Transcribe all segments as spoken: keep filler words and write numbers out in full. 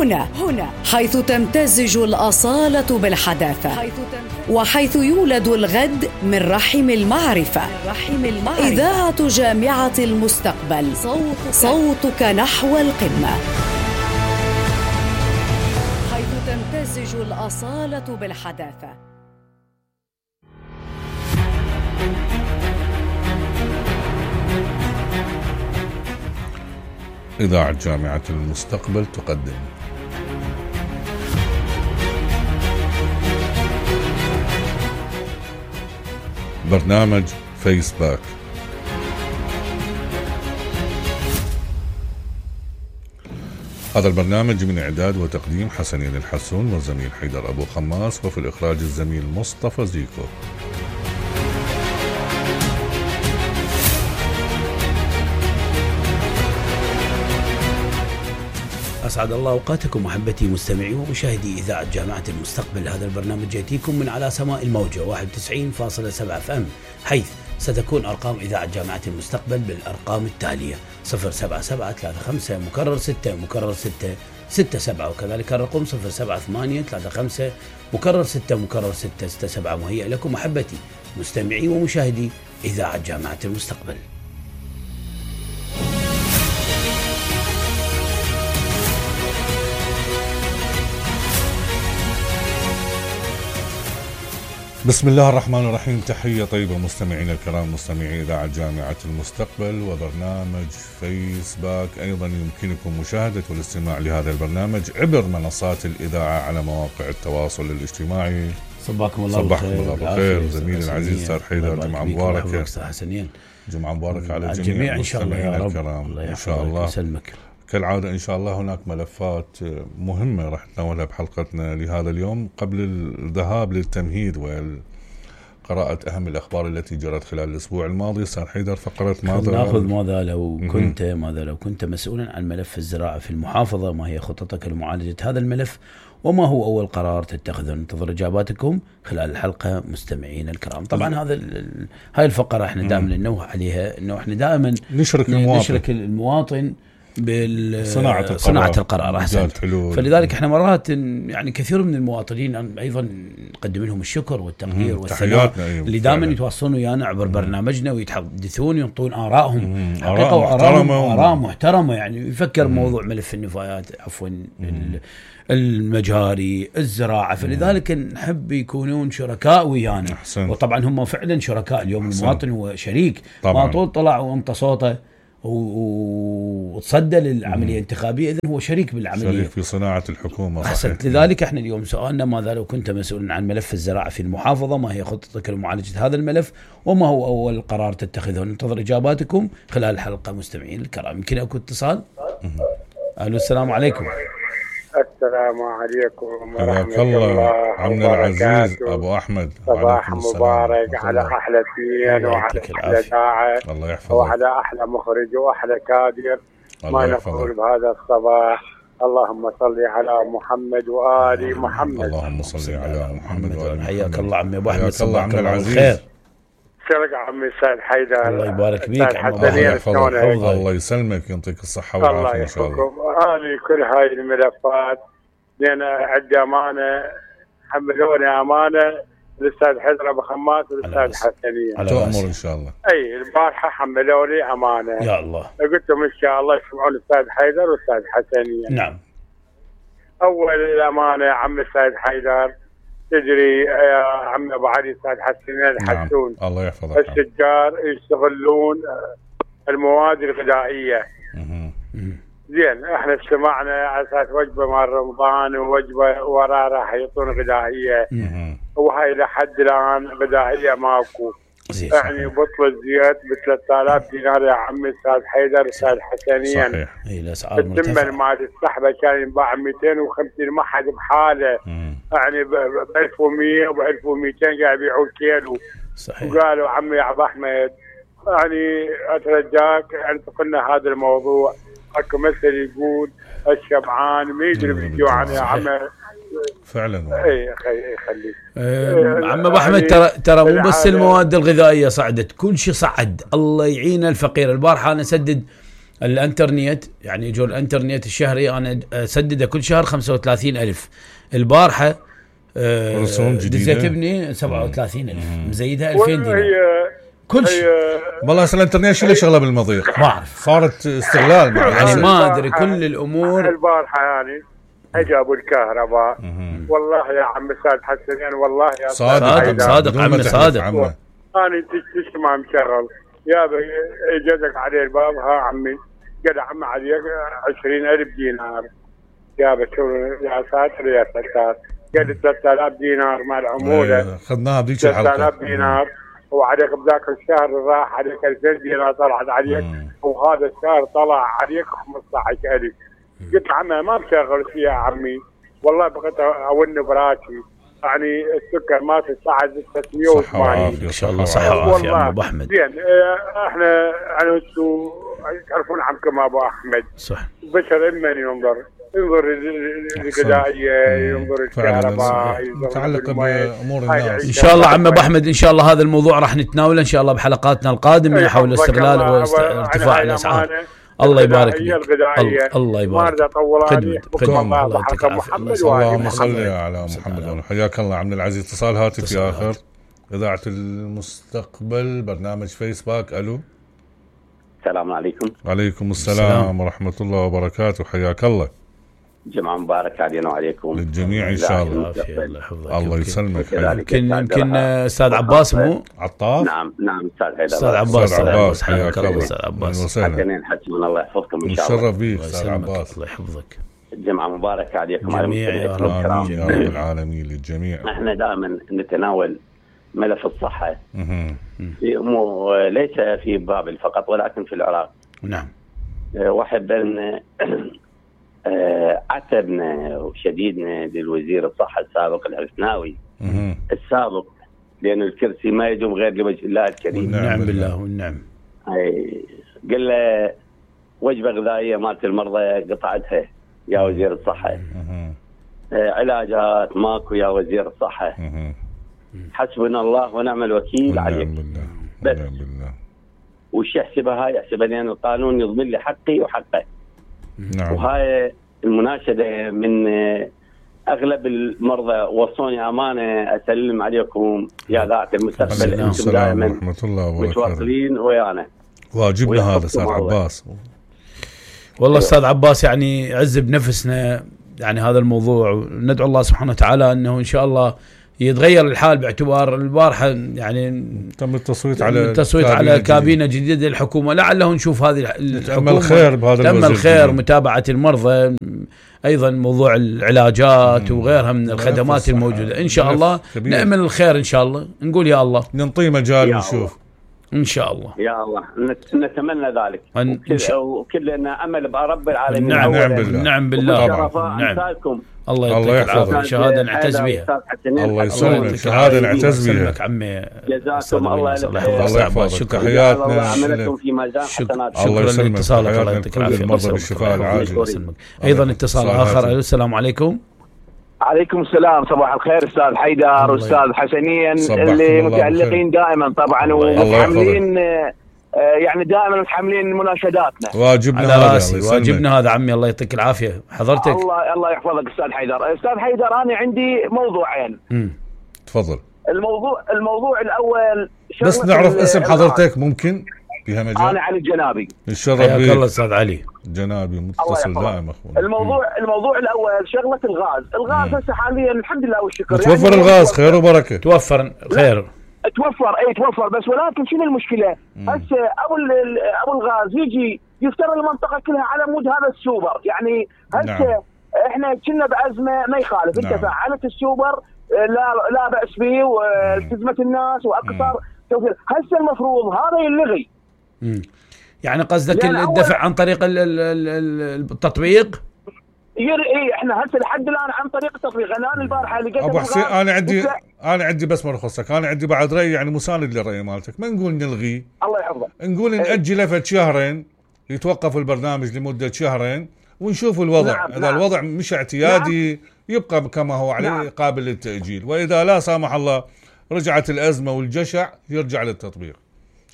هنا هنا حيث تمتزج الأصالة بالحداثة، وحيث يولد الغد من رحم المعرفة. إذاعة جامعة المستقبل، صوتك نحو القمة. حيث تمتزج الأصالة بالحداثة. إذاعة جامعة المستقبل تقدم برنامج فيسباك. هذا البرنامج من إعداد وتقديم حسنين الحسون والزميل حيدر أبو خماس، وفي الإخراج الزميل مصطفى زيكو. أسعد الله أوقاتكم محبتي مستمعي ومشاهدي إذاعة جامعة المستقبل. هذا البرنامج يأتيكم من على سماء الموجة واحد وتسعين فاصلة سبعة اف ام، حيث ستكون أرقام إذاعة جامعة المستقبل بالأرقام التالية: صفر سبعة سبعة ثلاثة خمسة مكرر ستة مكرر ستة ستة سبعة، وكذلك الرقم صفر سبعة ثمانية ثلاثة خمسة مكرر ستة مكرر ستة ستة سبعة. مهيئ لكم محبتي مستمعي ومشاهدي إذاعة جامعة المستقبل. بسم الله الرحمن الرحيم. تحية طيبة مستمعينا الكرام، مستمعي إذاعة جامعة المستقبل وبرنامج فيسباك. أيضا يمكنكم مشاهدة والاستماع لهذا البرنامج عبر منصات الإذاعة على مواقع التواصل الاجتماعي. صباحكم الله صباحكم الله بالخير زميلي العزيز أستاذ حيدر. جمعة مباركة حسنين. جمعة مباركة على الجميع إن شاء الله يا رب. الكرام. إن شاء الله يسلمك. كالعادة إن شاء الله هناك ملفات مهمة راح نتناولها بحلقتنا لهذا اليوم. قبل الذهاب للتمهيد وقراءة أهم الأخبار التي جرت خلال الأسبوع الماضي، أستاذ حيدر فقرة ماذا نأخذ ماذا لو كنت ماذا لو كنت مسؤولا عن ملف الزراعة في المحافظة، ما هي خطتك لمعالجة هذا الملف، وما هو أول قرار تتخذه؟ ننتظر إجاباتكم خلال الحلقة مستمعين الكرام. طبعا هذا هاي الفقرة احنا دائما ننوه عليها، انه احنا دائما نشرك المواطن, نشرك المواطن بالصناعة القرار, صناعة القرار أحسنت. فلذلك احنا مرات يعني كثير من المواطنين أيضا نقدم لهم الشكر والتقدير والثناء اللي دائما يتواصلون ويانا عبر برنامجنا ويتحدثون ينطون آرائهم، آراء محترمة, آراء محترمة. يعني يفكر موضوع ملف النفايات عفوا المجاري الزراعة، فلذلك نحب يكونون شركاء ويانا. وطبعا هم فعلا شركاء. اليوم أحسن. المواطن هو شريك. ما طول طلع وانت صوته وتصدى للعملية الانتخابية، إذن هو شريك بالعملية، شريك في صناعة الحكومة. أحسنت. لذلك احنا اليوم سؤالنا: ماذا لو كنت مسؤولا عن ملف الزراعة في المحافظة؟ ما هي خطتك لمعالجة هذا الملف؟ وما هو أول قرار تتخذه؟ ننتظر إجاباتكم خلال الحلقة مستمعين الكرام. يمكن أكو اتصال. أهلا السلام عليكم. السلام عليكم ورحمة الله عمنا العزيز أبو أحمد. صباح مبارك على أحلى اثنين وعلى أحلى داعي وعلى أحلى مخرج وأحلى كادر. ما نقول بهذا الصباح: اللهم صل على محمد وآل محمد. اللهم صل على محمد وآل محمد. حياك الله عمي أبو أحمد. حياك الله عمنا العزيز. شرق عمي أستاذ حيدر. الله يبارك فيك. الله, الله يسلمك يعطيك الصحة والعافية إن شاء الله. أنا كل هاي الملفات لأن عندي أمانة حملوني أمانة للأستاذ حيدر أبو خماس والأستاذ حسنين. تؤمر إن شاء الله. أي البارحة حملوني أمانة. يا الله. قلت لهم إن شاء الله يسمعون الأستاذ حيدر والأستاذ حسنين. نعم. أول الأمانة يا عم الأستاذ حيدر، تدري يا عم أبو علي الأستاذ حسنين الحسون. نعم. الله يحفظك. التجار يستغلون المواد الغذائية. زين احنا استمعنا على اساس وجبه مال رمضان ووجبه وراه راح يعطون غذائيه، وهاي لحد الان غذائيه ماكو. يعني بطل الزيت ب ثلاثة آلاف دينار يا عمي استاذ حيدر استاذ حسنين. صحيح. اي الاسعار مرتفعه. الثمن مال السحبه كان ينباع مئتين وخمسين، ما حد بحاله. مم. يعني ب ألف ومئة وب ألف ومئتين قاعد يبيعوا الكيلو. صحيح. وقالوا عمي يا ابو احمد يعني اترجاك انت قلنا هذا الموضوع. اكو مثل يقول الشبعان ما يدري بالجوعان يا عم. فعلا. اي اخي خليك. أه عم ابو احمد، ترى ترى مو بس المواد الغذائيه صعدت، كل شيء صعد. الله يعين الفقير. البارحه انا اسدد الانترنت يعني يجون الانترنت الشهري انا اسدده كل شهر خمسة وثلاثين ألف. البارحه آه دزيت ابني سبعة وثلاثين ألف مزيدها ألفين دينار كل شيء. والله اصلا الانترنت شو اللي شغله بالمضيق ما اعرف، صارت استغلال يعني ما ادري كل الامور. البارحه يعني جابوا الكهرباء والله يا عم استاذ حسن يعني والله يا صادق صادق عمي صادق انا تسمع مشغل يا اجازك عليه الباب ها عمي قد عم عليك عشرين ألف دينار يا بشو يا ساتر يا ستار قد ثلاثة آلاف دينار مع العموله خذناها بذيك الحلقه ثلاثة آلاف دينار وعليك بذاك الشهر راح عليك ألفين دينار طلعت عليك مم. وهذا الشهر طلع عليك خمسة عشر ألف. قلت عمي ما بشغل فيها يا عمي والله بقيت اون براسي يعني السكر ما تصعد ستمية وثمانين ان شاء الله صحه وعافيه يا ابو احمد. زين احنا يعني انتم تعرفون عنكم ابو احمد صح بشر من ينظر ينظر الغذائيه ينظر الكهرباء متعلقه بامور الناس ان شاء الله عم ابو احمد. ان شاء الله هذا الموضوع راح نتناوله ان شاء الله بحلقاتنا القادمه حول استغلال وارتفاع الاسعار. الله يبارك فيك. الله يبارك فيك. خدمة خدمة الله يعطيك العافية. اللهم صل على محمد. حياك الله عبد العزيز. اتصال هاتفي آخر. إذاعة المستقبل برنامج فيسباك. ألو السلام عليكم. وعليكم السلام ورحمة الله وبركاته. حياك الله. جمعة مبارك علينا وعليكم للجميع إن شاء الله. الله يسلمك. يمكن يمكن أستاذ عباس مو عطاف. نعم نعم أستاذ حيدر. أستاذ عباس. أستاذ عباس حياك الله. أستاذ عباس. حسنين حسن الله يحفظكم إن شاء الله. نشرف بيك أستاذ عباس. الله يحفظك. جمعة مبارك عليكم جميع يا رب. آمين يا رب العالمين للجميع. احنا دائما نتناول ملف الصحة في مو ليس في بابل فقط ولكن في العراق. نعم. واحب أن عتبنا وشديدنا للوزير الصحة السابق الحسناوي السابق لأن الكرسي ما يدوم غير لوجه الله الكريم. نعم بالله والنعم. قال له وجبة غذائية مالت المرضى قطعتها يا وزير الصحة. علاجات ماكو يا وزير الصحة. حسبنا الله ونعم الوكيل عليك. بس بالله. وش يحسبها هاي يحسبها لأن القانون يضمن لي حقي وحقه. نعم. وهاي المناشدة من أغلب المرضى وصوني أمانة أسلم عليكم يا ذات المستقبل. أنتم دائما متواصلين ويانا. واجبنا هذا أستاذ عباس. والله أستاذ عباس يعني عز بنفسنا يعني هذا الموضوع. ندعو الله سبحانه وتعالى أنه إن شاء الله يتغير الحال باعتبار البارحة يعني تم التصويت على التصويت على كابينة جديدة للحكومة. لعله نشوف هذه الحكومة تم الخير بهذا تم الخير متابعة المرضى أيضا موضوع العلاجات وغيرها من الخدمات الموجودة. إن شاء الله كبير. نأمل الخير إن شاء الله. نقول يا الله ننطي مجال ونشوف إن شاء الله. يا الله نتمنى ذلك وكلنا أمل برب العالمين. نعم بالله. نعم بالله. نعم. الله يعطيك العافية. شهادة نعتز بها. الله يسلمك. شهادة نعتز بها. عمي جزاكم الله الله يحفظك. تحياتنا. شكرا لاتصالك. الله يعطيك العافية. المرضى بالشفاء العاجل. أيضا اتصال آخر. السلام عليكم. عليكم السلام. صباح الخير استاذ حيدر واستاذ حسنين اللي متعلقين دائما طبعا ومتحملين يعني دائما متحملين مناشداتنا. واجبنا هذا واجبنا هذا عمي. الله يعطيك العافيه حضرتك. الله الله يحفظك استاذ حيدر. استاذ حيدر انا عندي موضوعين. امم تفضل. الموضوع الموضوع الاول بس نعرف اسم حضرتك ممكن فيها مجال. انا علي الجنابي. الشرف بك. حياك الله استاذ علي جنابي متصل دائم اخونا. الموضوع مم. الموضوع الاول شغله الغاز. الغاز هسه حاليا الحمد لله والشكر توفر يعني الغاز خير وبركه. توفر خير. توفر اي توفر بس ولكن شنو المشكله؟ هسه ابو ابو الغاز يجي يفتر المنطقه كلها على مود هذا السوبر. يعني هسه نعم. احنا كنا بازمه ما يخالف. نعم. انت فعلت السوبر لا لا باس فيه والتزمت الناس واكثر توفير. هسه المفروض هذا يلغي. امم يعني قصدك الدفع عن طريق التطبيق؟ اي احنا هسه لحد الان عن طريق التطبيق. انا البارحه لقيت ابو حسين انا عندي انا عندي بس ما رخصك. انا عندي بعد راي يعني مساند للراي مالتك. ما نقول نلغي الله يحفظك. نقول ناجله فد شهرين يتوقف البرنامج لمده شهرين ونشوف الوضع. نعم. اذا نعم. الوضع مش اعتيادي نعم. يبقى كما هو عليه نعم. قابل للتاجيل. واذا لا سامح الله رجعت الازمه والجشع يرجع للتطبيق.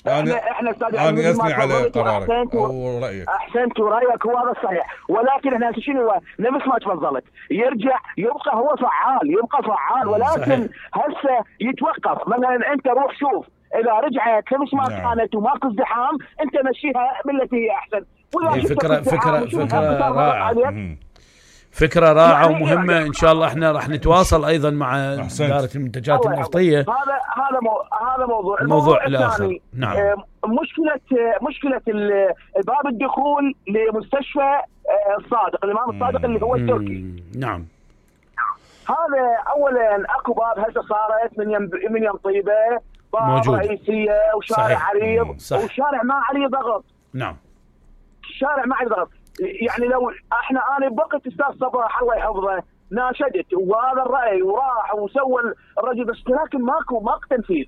احنا احنا استاذ انا اثني على قرارك او رايك. احسنت ورايك هو هذا الصحيح، ولكن احنا شنو هو نفس ما تفضلت، يرجع يبقى هو فعال، يبقى فعال، ولكن هسه يتوقف. مثلا انت روح شوف اذا رجعت نفس ما نعم. كانت وماكو ازدحام انت مشيها بالتي هي احسن. هي فكره فكره فكره رائعه، فكره رائعه ومهمه. ان شاء الله احنا راح نتواصل ايضا مع اداره المنتجات النفطيه. هذا هذا مو هذا موضوع الموضوع الاخر. نعم. مشكله مشكله باب الدخول لمستشفى الصادق، الامام الصادق اللي هو التركي. نعم. هذا اولا اكو باب هسه صارت من يم من يم طيبه باب موجود. رئيسيه وشارع صحيح. عريض صح. وشارع ما عليه ضغط. نعم. الشارع ما عليه ضغط، يعني لو احنا انا بوقت استاذ صباح الله يحفظه ناشدت وهذا الراي وراح وسوى الرجل، بس لكن ماكو ماكو تنفيذ.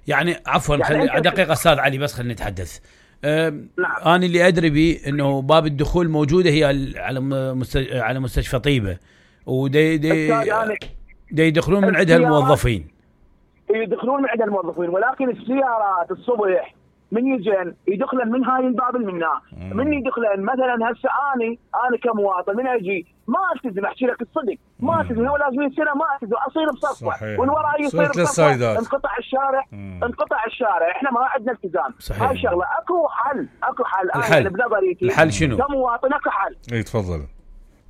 يعني عفوا يعني خلي دقيقه استاذ علي بس خلينا نتحدث. نعم. انا اللي ادري به انه باب الدخول موجوده هي على مستشفى على مستشفى طيبه، ودي دي دي يدخلون من عندها الموظفين. يدخلون من عندها الموظفين، ولكن السيارات الصبح من يجن يدخلن من هاي الباب اللي منها، من يدخلن مثلا هسه اني انا كمواطن من اجي ما التزم، احكي لك الصدق ما التزم، هو لازم سنه ما التزم اصير بصفه ومن وراي يصير بصفه، انقطع الشارع مم. انقطع الشارع، احنا ما عندنا التزام. هاي الشغله اكو حل، اكو حل. الحل انا بنظريتي الحل شنو؟ كمواطن اكو حل. اي تفضل.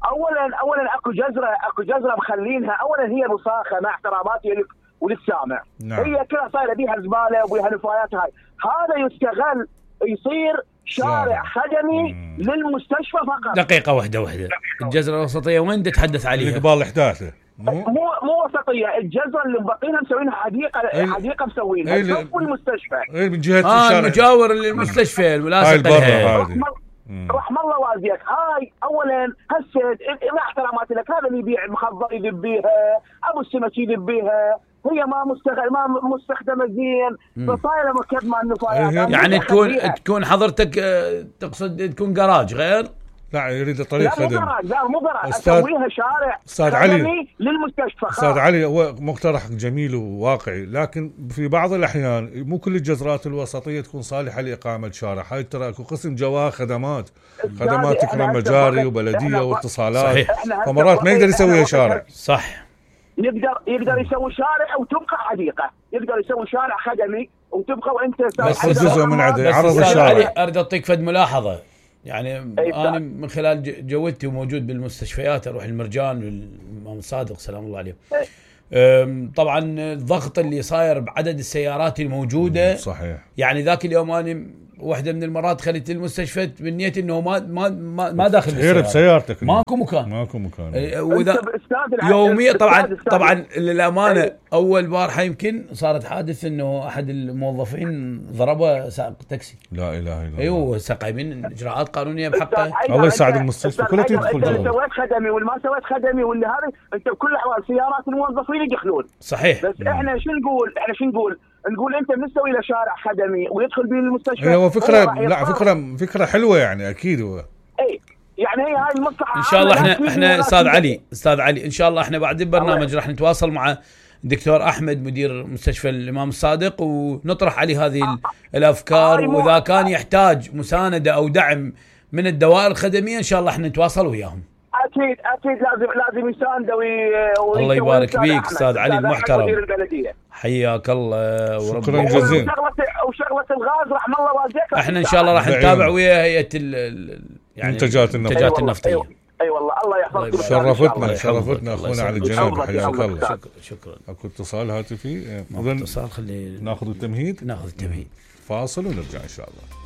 اولا اولا اكو جزره اكو جزره مخلينها، اولا هي مصاخه مع احتراماتي لك وللسامع. نعم. هي كلها صايره بيها زباله وبيها نفايات، هاي هذا يستغل يصير شارع خدمي مم. للمستشفى فقط. دقيقه واحده واحده، الجزره الوسطيه وين تتحدث عليها؟ قبال الاحداث مو مو وسطيه، الجزره اللي مبقينها مسوينها حديقه أي... حديقه مسوينها جنب المستشفى. اي من جهه آه الشارع المجاور للمستشفى الملاصق لها. رحم الله والديك. هاي اولا هسه مع احتراماتي لك، هذا اللي يبيع المخضر يذبيها، ابو السمك يذبيها، هي ما مستخدمه ما مستخدمه زين، فصايره مركب مع النفايات. يعني تكون تكون حضرتك تقصد تكون جراج غير؟ لا يريد طريق خدمي. لا مو جراج، لا مو جراج، اسويها شارع استاذ علي للمستشفى. استاذ علي هو مقترح جميل وواقعي، لكن في بعض الاحيان مو كل الجزرات الوسطيه تكون صالحه لاقامه شارع. هاي ترى اكو قسم جواه خدمات خدمات تكرم مجاري وبلديه واتصالات، فمرات ما يقدر يسويها شارع. صح. يقدر يقدر يسوي شارع وتبقى حديقه، يقدر يسوي شارع خدمي وتبقى وانت بس جزء من عده عرض الشارع. اريد اعطيك فد ملاحظه، يعني انا من خلال جولتي وموجود بالمستشفيات اروح المرجان والامام الصادق سلام الله عليه. طبعا الضغط اللي صاير بعدد السيارات الموجوده صحيح. يعني ذاك اليوم انا واحده من المرات خليت المستشفى بنيتي انه ما ما ما, ما داخل السيارة بسيارتك ماكو مكان ماكو مكان واذا يوميا طبعا طبعا للامانه اول بارحه يمكن صارت حادث انه احد الموظفين ضربه سائق تاكسي. لا اله الا الله. ايوه قايمين اجراءات قانونيه بحقه. الله يساعد المستشفى كلها تدخل جوا. انت سويت خدمي والما سويت خدمي واللي هذا انت بكل الاحوال سيارات الموظفين يدخلون. صحيح. بس احنا شو نقول احنا شو نقول نقول انت بنسوي له شارع خدمي ويدخل به المستشفى. هو فكره لا فكره فكره حلوه يعني اكيد هو. اي يعني هي هاي المصلحه ان شاء الله. احنا احنا استاذ علي استاذ علي ان شاء الله احنا بعد البرنامج راح نتواصل مع الدكتور احمد مدير مستشفى الامام الصادق ونطرح عليه هذه الافكار، واذا كان يحتاج مسانده او دعم من الدوائر الخدميه ان شاء الله احنا نتواصل وياهم. اكيد اكيد لازم لازم يساندوا. الله يبارك فيك استاذ علي المحترم. حياك الله وربنا جزيلا. وشغله الغاز رحم الله والديك. احنا ان شاء الله راح نتابع ويا هيئه يعني المنتجات النفطيه. النفطيه. اي والله الله يحفظك. شرفتنا شرفتنا اخونا على الجناب حياك الله. شكرا شكرا. اكو اتصال هاتفي. اظن اتصال خلي ناخذ التمهيد. ناخذ التمهيد فاصل ونرجع ان شاء الله.